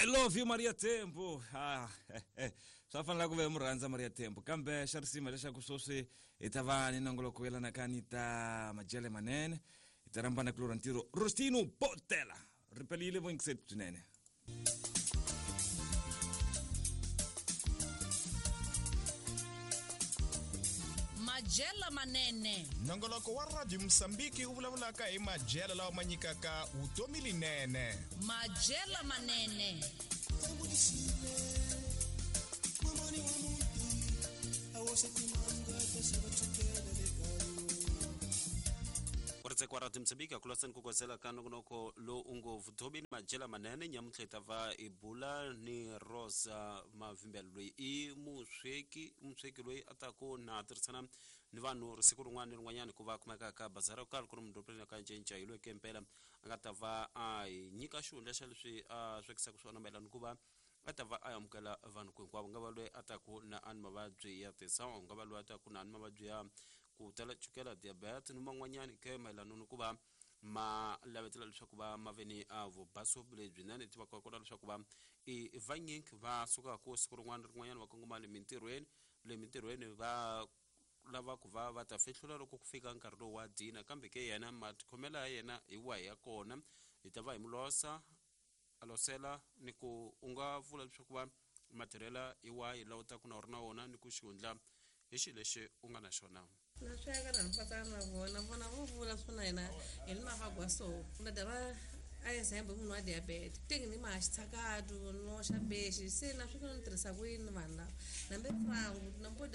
I love you Maria Tempo. Ah, swa fanela ku ve mu rhandza Maria Tempo kambe xa risima leswaku sweswi hi ta va ni nongoloko yelanaka ni ta majele manene hi ta rhambana kulorha ntirho Rostino Botela ripelile voyingiseti swinene. Majela manene. Nongoloko wa Radio Mosambiki wu vulavulaka hi majela lawa ma nyikaka vutomi linene. Majela manene. Ku Radio Mozambique kuloseni ku kosela ka nongonoko lowu u ngo vutomi ni majela manene nyamuntlha hi ta va hi bula ni Rosa Mavimbela loyi i musweki musweki loyi a taku na tirhisana ni vanhu siku rin'wana ni rin'wanyana ku va kumeka ka bazara yo karhi ku ri mudorobeni ka Ncinca hi loyi ke mpela a nga ta va a hi nyika xihundla xa leswi a swekisaka swona mayelana ku va a ta va a amukela vanhu ku hinkwavo nga va loyi a taku na a ni mavabyi ya tisawu nga va loyi a taku na ni mavabyi ya ku tala chukela diabetes ni man'wanyani ke mayelana ni ku va ma lavetela leswaku va ma ve ni a vubaso lebyinene tivaka kona leswaku va i vanyingi va sukaka siku rin'wana rin'wanyana va kongoma le mintirhweni le mintirhweni va lava ku va va ta fihlula loko ku fika nkarhi lowu wa dina kambe ke yena matikhomelo ya yena hi wahi ya kona hi ta va hi mu losa a losela ni ku u nga vula leswaku va matirhela hi wahi lawa u taku na u ri na wona ni ku xihundla hi xilo lexi u nga na xona. Na sweka na mpatsana na vona vona vo vula swona hina hi ni mavagwa so na dava a example munhu wa diabetes tingi ni ma xitshakatu no xa bexi se na swi ni tirhisa ku yini vanhu lava nambe frangu nampo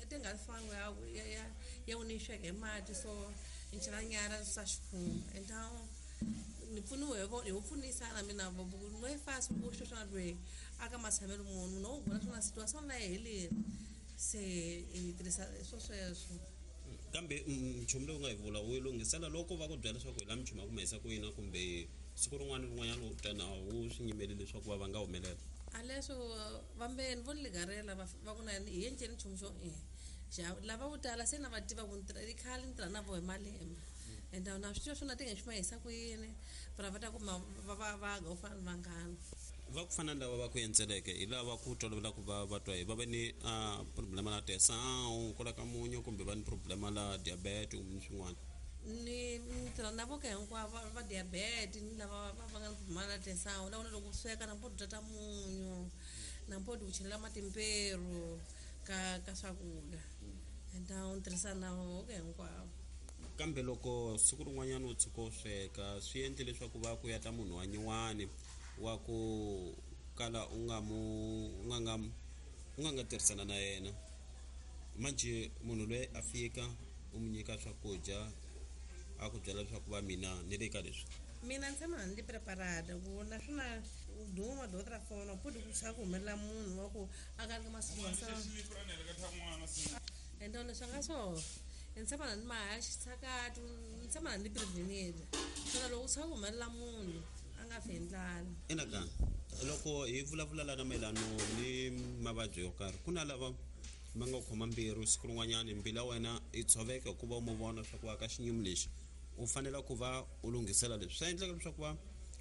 tinga frangu ya ya ya u ni sweka hi mati so ni chela nyara swa xikhumba and now ni pfuniwe hi vo pfunisana mina no yi fasi ku sweswi na loyi aka matshamelo munhu no vona swona situation na yi heleri se hi tirhisa swo sweswo. Kambe nchumu lowu nga hi vula u yi lunghisela loko va ku byela leswaku hi la minchumu ya ku humesa ku yina kumbe siku rin'wana ni rin'wanyana u ta na wu swi nyimeli leswaku va va nga humelela a leswo vambeni vo ni ligarela va ku na hi endleni nchumu xo lava vo tala se na va tiva ku i khale ni tirha na vo hi malembe and na swi tiva swona ti nga xi ma hisa ku yini va va ta kuma va va va ga u fana ni vanghana va ku fana ni lava va ku endzeleke hi lava ku tolovela ku va va twa hi va ve ni problema la tesawu kwala ka munyu kumbe va ni problema la diabetes kumbe ni swin'wana ni tirha na vo ka hinkwavo va diabetes ni lava va nga ni problema la tesawu la vona loko sweka na mpo tata munyu na mpo ku chelela matimperu ka ka swakudya and ni tirhisa na vo ka hinkwavo. Kambe loko siku rin'wanyana u tshuka u sweka swi endle leswaku va ku ya ta munhu wa nyuwani wa ku kala u nga mu u nga u nga nga tirhisana na yena manje munhu loyi a fika u mu nyika swakudya a ku byela leswaku va mina ni le ka leswi mina ni tshama ni preparada ku naswona duma de outra forma pode ku ku humelela munhu wa ku a ka ka masiku então leswi nga so ni tshama ni maha xitshakatu ni tshama ni prevenile swona loko u tshama ku humelela munhu a nga fi hi ndlala. Ina loko hi vulavula lana mayelano ni mavabyi yo karhi ku na lava ma nga khoma mbilu siku rin'wanyana mbilu ya wena yi tshoveka hikuva u mu vona leswaku wa ka xinyumu lexi u fanele ku va u lunghisela leswi swa endleka leswaku va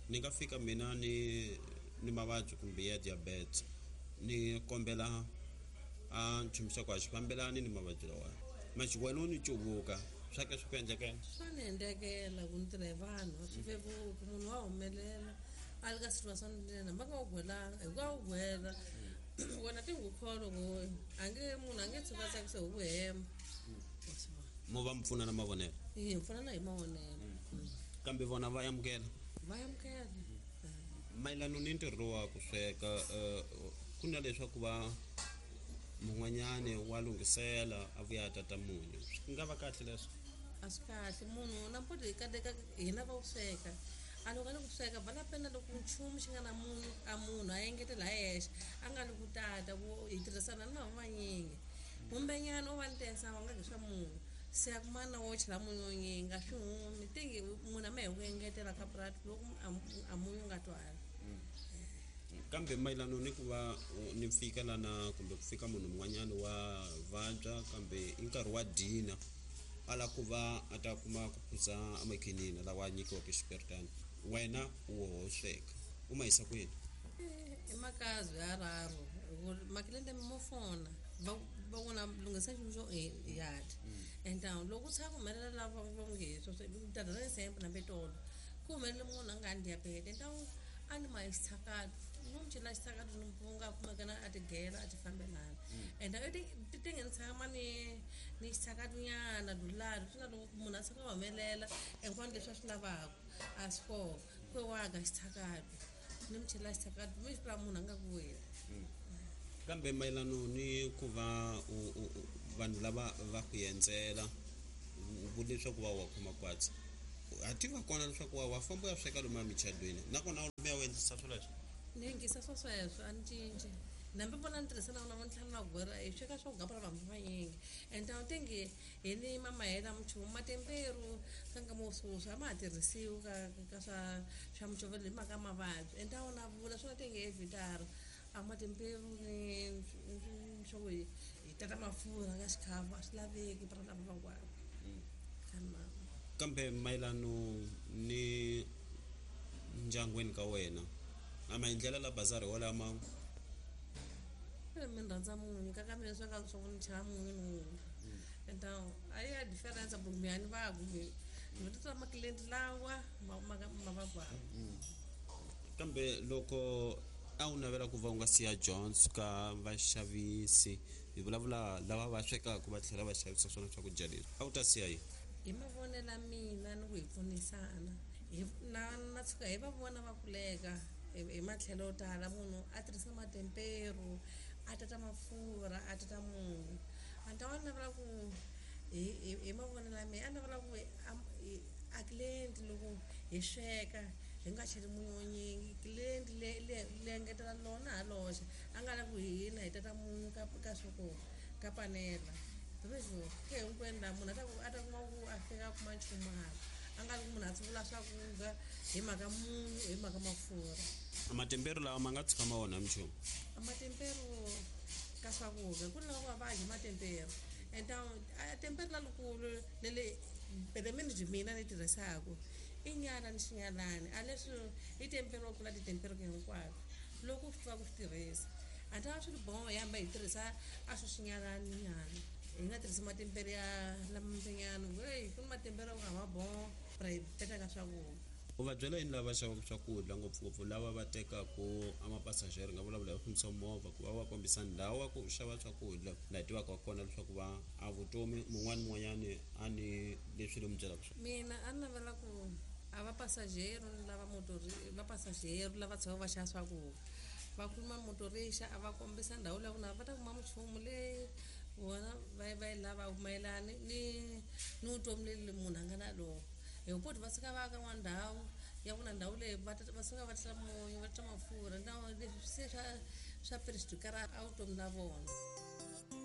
ni nga fika mina ni ni mavabyi kumbe ya diabetes ni kombela a nchumu xa ku a xi fambelani ni mavabyi lawa manje wena u ni cuvuka swa ke swi ku endlekela swa ni endlekela ku ni tirha hi vanhu a swi vevuki munhu wa humelela a li ka situation lena va nga wu gwelanga hi ku a wu gwela wena ti n'wi kholo ku a nge munhu a nge tshuka a tsakisa hi ku hemba mo va mi pfuna na mavonelo hi pfunana hi mavonelo kambe vona va amukela va amukela mayelana ni ntirho wa ku sweka ku na leswaku va mun'wanyani wa lunghisela a vuya a tata munyu swi nga va kahle leswo a swi kahle munhu na mpoto hi kateka hina va ku sweka a loko a le ku sweka bala pena loko nchumu xi nga na munhu a munhu a engetela hi yexe a nga li ku tata ku hi tirhisana ni vanhu vanyingi humbenyana u va ni tesa wa nga ki swa munhu se a kuma na wo chela munyu wo nyingi a swi humi tingi munhu a ma hi ku engetela ka purati loko a munyu nga twali. Kambe mayelana ni ku va ni fika lana kumbe ku fika munhu un'wanyana wa vabya kambe i nkarhi wa dina a lava ku va a ta kuma ku phuza amakhinini lawa a nyikiwaka xiperitani wena u woho sweka u ma yisa kwini? I makazi ya raru makilente mo fona va va vona lunghisa nchumu xo yati enta loko u tshama humelela lava va nge swo tata ra example na petolo ku humelele munhu a nga ni diabete enta a ni ma xitshakati no mi chela xitshakati ni mpunga kumekana a tigela a ti fambelana enta i ti nge ni tshama ni ni xitshakati nyana dulari swi na loko munhu a tshuka a humelela hinkwano leswi a swi lavaka a swi kona ku waga xitshakati ni mi chela xitshakati mi swi vula munhu a nga ku weli. Kambe mayelano ni ku va vanhu lava va ku endzela u vule leswaku va wa khoma kwatsi a tiva kona leswaku wa famba u ya sweka lomu emichadweni nakona u ya u endlisa swoleswo. Ni yingisa swo sweswo a ni cinci nambi vona ni tirhisa na vona va ni tlhela na gwera hi sweka swo gapura vanhu vanyingi and a tingi hi ni mamahela minchumu matemperu ka nkama wo sweswi a ma ha tirhisiwi ka swa swa mucovelo hi mhaka mavabyi and a wona vula swona tingi evhitara a matemperu ni swo ku hi tata mafurha ka xikhafu a swi laveki para lava van'wana. Kambe mayelano ni ndyangwini ka wena a maendlelo la bazari walama mi rhandza munyu ka mina swa ka swa ku ni chela munyu ni enta a ya difference kumbe a ni va kumbe ni titwa makilenti lawa ma va kwawo. Kambe loko a wu navela ku va u nga siya Jones ka vaxavisi hi vulavula lava va swekaka va tlhela va xavisa swona swakudya leswi a wu ta siya yini? Hi mavonelo ya mina ni ku hi pfunisana na tshuka hi va vona va kuleka hi matlhelo yo tala munhu a tirhisa matemperu a tata mafurha a tata munyu a ni ta va navela ku hi mavonelo ya mina a navela ku a client loko hi sweka hi nga cheli munyu wo nyingi client le engetela lona ha loxa a nga lavi ku hina hi tata munyu ka swoko ka panela leswo ke hinkwenu laha munhu a ta kuma ku a fika a kuma nchumu hala a nga ri ku munhu a tsuvula swakudya hi mhaka munyu hi mhaka mafurha. Matemperu lawa ma nga tshuka ma onha minchumu? Matemperu ka swakudya ku ni lava va dya matemperu and a temperu lalukulu lele pelemeni byi mina ni tirhisaka i nyala ni xinyalani a leswi i tempero ku la titemperu hinkwato loko u swi tiva ku swi tirhisa a ta swi ri boho hi hamba hi tirhisa a swi xinyalani nyana hi nga tirhisi matempere ya lamampenyana hey ku ni matempere ku nga ma boho ra hi peta ka swakudya. U va byela yini lava xavaka swakudya ngopfungopfu lava va tekaku a mapasajeri nga vulavula hi fambisa movha ku va va kombisa ndhawu ya ku xava swakudya laha hi tivaka kona leswaku va a vutomi mun'wana mun'wanyani a ni leswi ni mi byelaka swona? Mina a ni navela ku a va pasajero ni lava motori va pasajero lava tshama va xava swakudya va khuluma motorixa a va kombisa ndhawu leyi na va ta kuma minchumu leyi vona va yi lava mayelana ni vutomi leli munhu a nga na lona hi poti va suka va ka n'wana ndhawu ya ku na ndhawu leyi va suka va tla munyu va tla mafurha na leswi se swa swa perixikara a vutomi la vona.